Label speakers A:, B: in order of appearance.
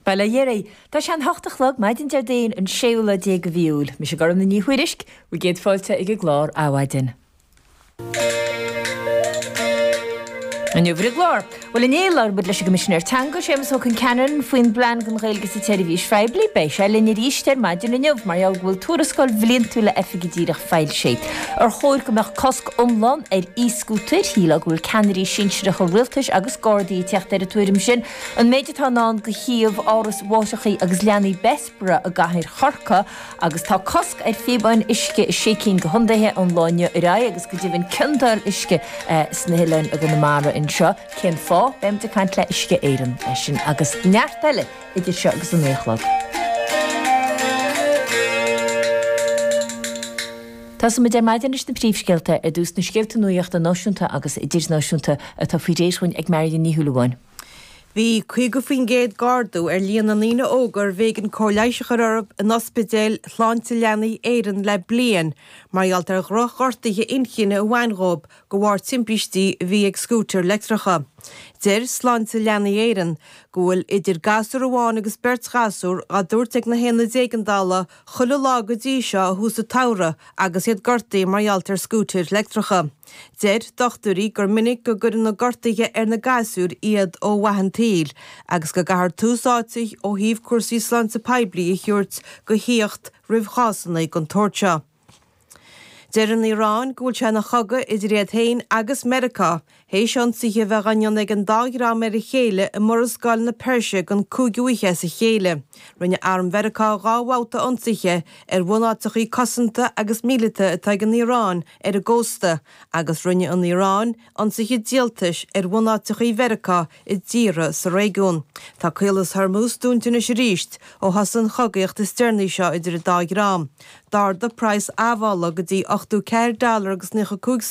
A: Bail ó Dhia oraibh. Tá sé an hocht a chlog, maidin Déardaoin, an séú lá déag de mhí Iúil. Mise Gormfhlaith Ní Thuairisg, bhur gcéad fáilte ag an gclár Adhmhaidin. Inniu ar an gclár. Bhuel inné labhair muid leis an gCoimisinéir Teanga, Séamus Ó Concheanainn, faoin bplean don Ghaeilge sa tseirbhís phoiblí. Beidh sé linn arís ar maidin inniu mar gheall go bhfuil tuarascáil bhliantúil a oifige díreach foilsithe. Ar chóir go mbeadh cosc iomlán ar e-scútair? Shílfeá go bhfuil ceannairí sinsearacha rialtais agus Gardaí ag teacht ar an tuairim sin. An méid atá i ndán do shuíomh Áras Mháithreacha agus Leanaí Bessborough i gcathair Chorcaí agus tá cosc ar phíobáin uisce i sé cinn de chontaetha ón lá inniu ar aghaidh agus go deimhin ciondáil uisce sna hoileáin i gConamara anseo. Cén fáth? Beimid ag caint le Uisce Éireann é sin agus neart eile idir seo agus a 9 a chlog. Tosóimid ar maidin leis na príomhscéalta, ar dtús na scéalta nuachta náisiúnta agus idirnáisiúnta atá faoi réir dhúinn ag Marion Ní Shúilleabháin.
B: Bhí 50% d'ardú ar líon na ndaoine óga arbh éigean cóir leighis a chur orthu in ospidéil Shláinte Leanaí Éireann le bliain mar gheall ar dhroch-ghortuithe inchinne a bhain dhóibh de bharr timpistí a bhí ag scútair leictreacha. Deir Sláinte Leanaí Éireann go bhfuil idir gasúr amháin agus beirt ghasúr dhá dtabhairt ag na haonaid éigeandála chuile lá go dtí seo ó thús an tsamhraidh agus iad gortaithe mar gheall ar scútair leictreacha. Deir dochtúirí gur minic go gcuireann na gortuithe ar na gasúir iad ó mhaith an tsaoil agus go gcaithfear tús áite ó thaobh cúrsaí sláinte poiblí a thabhairt go theacht roimh chásanna den tsórt seo. Deir an Iaráin go bhfuil sé ina chogadh idir iad féin agus Meiriceá théis ionsaithe a bheith á ndéanamh ag an dá dhream ar a chéile i Murascaill na Peirse den cúigiú oíche as a chéile. Rinne arm Mheiriceá 2 bhabhta ionsaithe ar bhunáiteachaí cosanta agus míleata atá ag an Iaráin ar an gcósta agus rinne an Iaráin ionsaithe díoltais ar bhunáiteachaí Mheiriceá i dtíortha sa réigiún. Tá Caolas Hormuz dúnta anois arís ó thosaigh an chogaíocht is deireanaí seo idir an dá dhream. D'ardaigh praghas admhála go dtí 84 dollar agus 95.